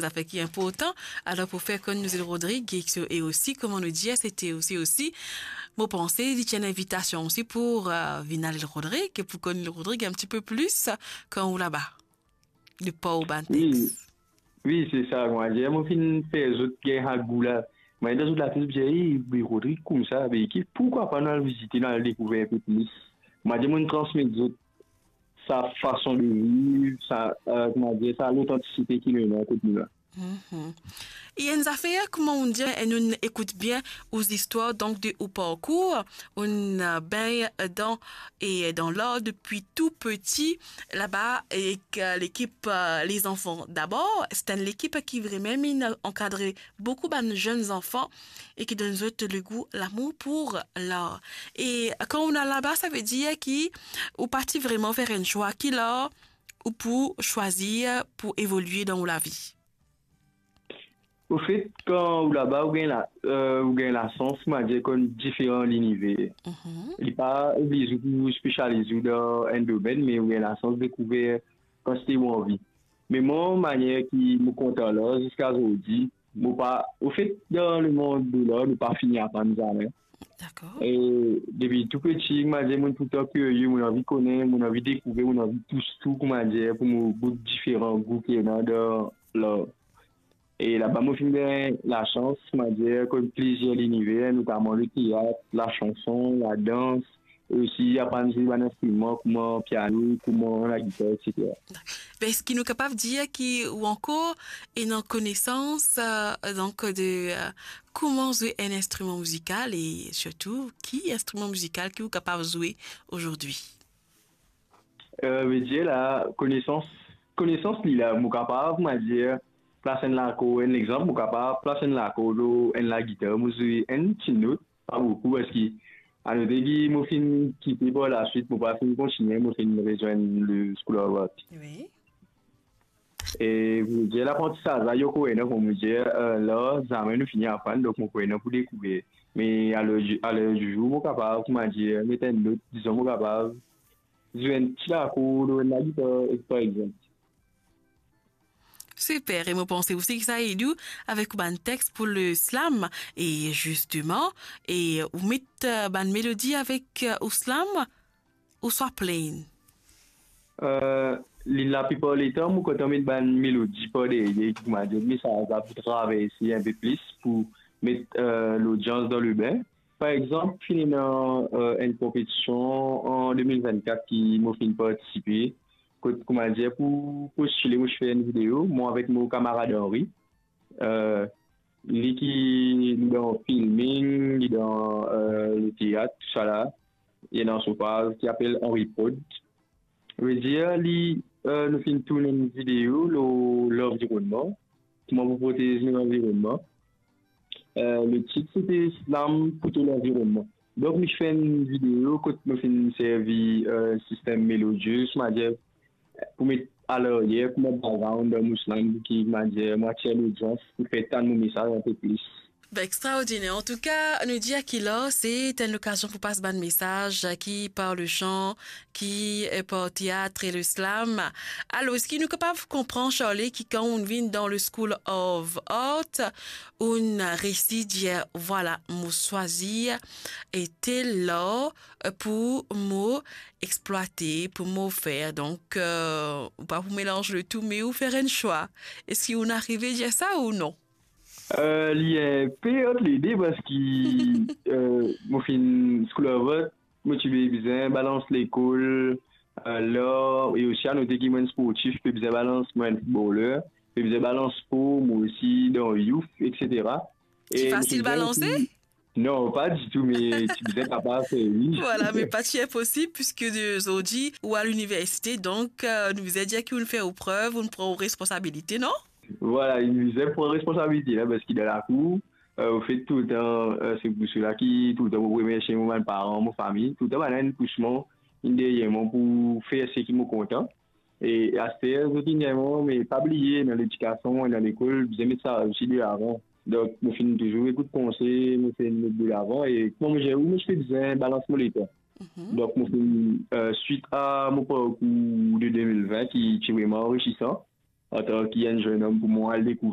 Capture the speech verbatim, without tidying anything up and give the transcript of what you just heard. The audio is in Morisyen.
zafer ki inportan. Alor, pou fer konn nou Lil Rodrig, e, e osi, kouma nou dir, se te osi, osi, mo panse, li ti enn invitasion osi pou, eh, vinn al Lil Rodrig, e pou konn Lil Rodrig enn tipe plis, kan ou laba. Li pa ou bann text. Wi, se sa, kouma dir, mo finn fer zot gagn sa gou la. Mo dan zot latet, mo dir, "Ey, Lil Rodrig koumsa, be ki, pourkwa pa nou al vizite, nou al dekouver inpe plis?" Mo dir, mo transmet zot sa fason de viv, sa, eh, kouma dir, sa lotantisite ki nou ena kot nou la. Mhm. E enn zafer, kouma ou dir, e nou ekout bien ou zistwar, donk de ou parkour, ou, eh, bengn dan, e dan lar depi tou piti, laba, ek, eh, lekip, eh, Les Enfants d'Abord, se enn lekip ki vremem inn ankadre boukou bann zenn zanfan e ki donn zot legou, lamour pou lar. E kan ou al laba, savedir ki ou pa ti vreman fer enn swa, ki lar ou pou swazir pou evolie dan ou lavi? Ofet, kan ou laba, ou gagn la, eh, ou gagn lasans, kouma dir, konn diferan liniver. Mhm. Li pa oblize ou pou spesializ ou dan enn domenn, me ou gagn lasans dekouver kantite ou anvi. Me mwa, manier ki mo kontan lar ziska zordi, mo pa, ofet, dan lemond de lar, nou pa fini aprann zame. Dakor. E depi tou piti, kouma dir, mo toultan kirie, mo anvi kone, mo anvi dekouver, mo anvi tous tou, kouma dir, pou mo gout diferan gou ki ena dan lar. E laba mo finn gagn lasans, kouma dir, konn plizier liniver, notaman leteat, lasanson, ladans, e osi aprann zwe bann instriman kouma piano, kouma lagitar, etsetera. Be, eski nou kapav dir ki ou ankor ena konesans, eh, donk de, eh, kouma zwe enn instriman mizikal e sirtou ki instriman mizikal ki ou kapav zwe azordi? Eh, vedir la, konesans, konesans li la, mo kapav, kouma dir, plas enn lakor, enn lexanp, mo kapav plas enn lakor lor enn lagitar, mo zwe enn ti not, pa boukou, parski anote ki mo finn kite par laswit, mo pa finn kontigne, mo finn rezwenn le School of Art. Wi. E pou dir, laprantisaz la, li ankor ena, kouma dir, eh, lar zame nou fini aprann, donk mo ankor ena pou dekouver. Me aler, aler di zour, mo kapav, kouma dir, met enn not, dizon, mo kapav zwe enn ti lakor lor enn lagitar, par exanp. Siper, e mo panse osi ki sa ed ou avek ou bann text pou le slam, e zisteman, e ou met, eh, bann melodi avek, eh, ou slam, ouswa plain? Eh, li, laplipar letan, mo kontan met bann melodi par deryer, kouma dir, mesaz la pou traverse inpe plis, pou met, eh, lodians dan lebin. Par exanp, finn ena, eh, enn konpetision an de mil vennkat ki mo finn partisipe, kot, kouma dir, pou postile, mo ti fer enn video, mwa avek mo kamarad Henry. Eh, li ki, li dan filming, li dan, eh, leteat, tousala. Li ena so paz ki apel Henry Prod. Vedir, li, eh, nou finn tourn enn video lor lanvironnman, kouma pou protez nou lanvironnman. Eh, le tit, se te Slam pou to lanvironnman. Donk, mo ti fer enn video kot mo finn servi, eh, sistem melodious, kouma dir, pou met alaryer, kouma background dan mo slam, ki, kouma dir, mo atir lodians pou fer tann mo mesaz inpe plis. Be, extraordiner. Antouka, nou dir ki lar se enn lokazion pou pas bann mesaz ki par le san, ki, eh, par teat e le slam. Alor, eski nou kapav konpran, Charlie, ki kan ou vinn dan le School of Art, ou resi dir, vwala, mo swazir tel lar pou mo explwate, pou mo fer. Donk, eh, ou pa pou melanz le tou, me ou fer enn swa. Eski ou arive dir sa ou non? Eh, li inpe ant lede, parski, eh, mo finn School of Art, mo ti pe bizin balans lekol, eh, lar, e osi anote ki mo enn sportif, pe bizin balans, mo enn footballer, pe bizin balans spor, mo osi dan youth, etsetera. Ti fasil balanse? Non, pa ditou, me ti bizin kapav fer, wi. Vwala, me pa ti inposib, piski de zordi ou a liniversite, donk, eh, nou bizin dir ki ou fer ou prev, ou pran ou responsabilite, non? Vwala, inn bizin pran responsabilite la, parski dan lakour, eh, ofet, toultan, eh, se pou sela ki toultan mo remersie mo bann paran, mo fami, toultan bannla inn pous mwa, inn deryer mwa pou fer seki mo kontan. E aster, zot inn dir mwa, me pa bliye, dan ledikasion, dan lekol, bizin met sa osi delavan. Donk, mo finn touzour ekout konsey, mo finn met delavan, e kouma mo dir ou, mo ti pe bizin balans mo letan. Mhm. Donk, mo finn, eh, swit a mo parkour de de mil vin ki ti vreman anrisisan, antan ki enn zenn om pou mwa al dekouver